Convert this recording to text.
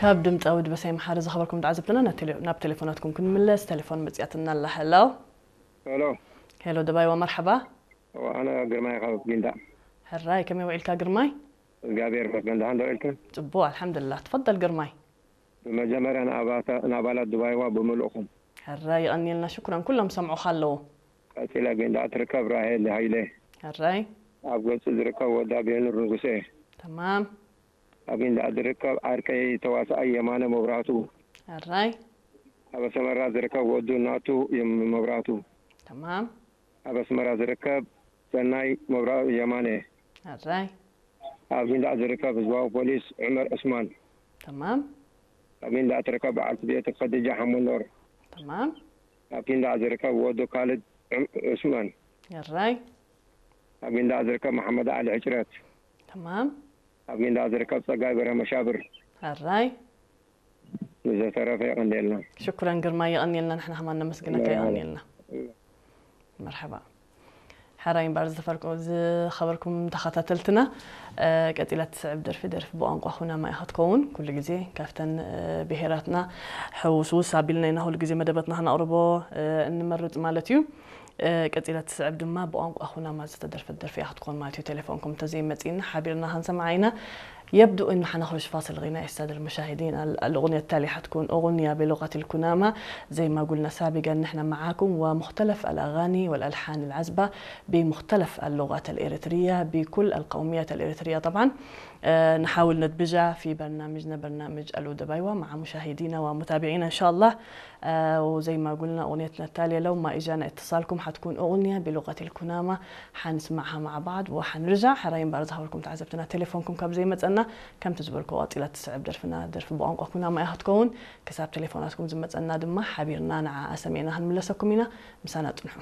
ካብ ድምፃዊ ድበሳይ መሓሪ ዝኸበርኩም ተዓዘብትና ናብ ቴሌ-፣ ናብ ቴሌፎናትኩም ክንምለስ። ቴሌፎን መፅያትና ኣላ። ሄሎ። ሄሎ። ሄሎ ደባይዋ፣ መርሓባ። ኣነ ግርማይ ካብ ጊንዳ። ሕራይ፣ ከመይ ውዒልካ ግርማይ? እግዚኣብሔር ይመስገን፣ ደሓን ዶ ኢልክን? ጽቡቕ፣ ኣልሓምዱሊላህ። ትፈደል ግርማይ። ብመጀመርያ ንኣባታ-፣ ንኣባላት ድባይዋ ብምልእኹም። ሕራይ፣ የቐንየልና፣ ሽኩራን፣ ኩሎም ሰምዑኻ ኣለዉ። ቀጺላ ጊንዳ ትርከብ ራሄል ሃይለ። ሕራይ። ኣብ ገጹ ዝርከብ ወዳ ቤኑር ንጉሴ። ተማም። ኣብ ጊንዳ ዝርከብ ዓርከይ ተዋሳኣይ የማነ መብራህቱ። ሕራይ። ኣብ ኣስመራ ዝርከብ ወዱ ናቱ የም-፣ መብራህቱ። ተማም። ኣብ ኣስመራ ዝርከብ ሰናይ መብራህቱ የማነ። ሕራይ። ኣብ ጊንዳ ዝርከብ ህዝባዊ ፖሊስ ዑመር ዑስማን። ተማም። ኣብ ጊንዳ ትርከብ በዓልቲ ቤቱ ከዲጃ ሓመኖር። ተማም። ኣብ ጊንዳ ዝርከብ ወዱ ካልድ ዑም-፣ ዑስማን። ሕራይ። ኣብ ጊንዳ ዝርከብ መሓመድ ዓሊ ሕጭረት። ተማም። ኣብ ጊንዳ ዝርከብ ጸጋይ በርሀ መሻብር። ሕራይ። ንዝተረፈ የቐንየልና። ሽኩረን ግርማይ፣ የቐንየልና። ንሕና ከማን ነመስግነካ፣ መርሓባ። የቐንየልና። መርሓባ። ሕራይ እምበኣር ዝተፈርኩ-፣ ዝኸበርኩም ተኸታተልትና፣ እ፣ ቀጺላ ትስዕብ ደርፊ፣ ደርፊ ብቋንቋ ኩናማ እያ ክትከውን። ኩሉ ግዜ ካብተን፣ እ፣ ብሄራትና ሕውስውስ ኣቢልና ኢና ኩሉ ግዜ መደባትና ክነቕርቦ፣ እ፣ እንመርጽ ማለት እዩ። እ፣ ቀጺላ ትስዕብ ድማ ብቋንቋ ኩናማ ዝተደርፈት ደርፊ እያ ክትኮን ማለት እዩ። ቴሌፎንኩም እንተዘይመጺእና ሓቢርና ክንሰምዓ ኢና። يبدو إن حنخرج فاصل غنائي، السادة المشاهدين. ال-، الأغنية التالية حتكون أغنية بلغة الكنامة. زي ما قلنا سابقا، نحن معاكم ومختلف الأغاني والألحان العذبة بمختلف اللغات الإريترية، بكل القوميات الإريترية طبعا. آه، نحاول ندمجها في برنامجنا، برنامج ألو دبايوة، مع مشاهدينا ومتابعينا إن شاء الله. آه، وزي ما قلنا، أغنيتنا التالية، لو ما إجانا اتصالكم، حتكون أغنية بلغة الكنامة، حنسمعها مع بعض وحنرجع. ሕራይ እምበኣር ዝኸበርኩም ተዓዘብትና፣ ቴሌፎንኩም ካብ ዘይመጸና፣ ከምቲ ዝበልኩ፣ ቀጺላ ትስዕብ ደርፍና፣ ደርፊ ብቋንቋ ኩናማ እያ ክትከውን። ክሳብ ቴሌፎናትኩም ዝመጸና ድማ፣ ሓቢርና ንዓኣ ሰሚዕና ክንምለሰኩም ኢና። ምሳና ጽንሑ።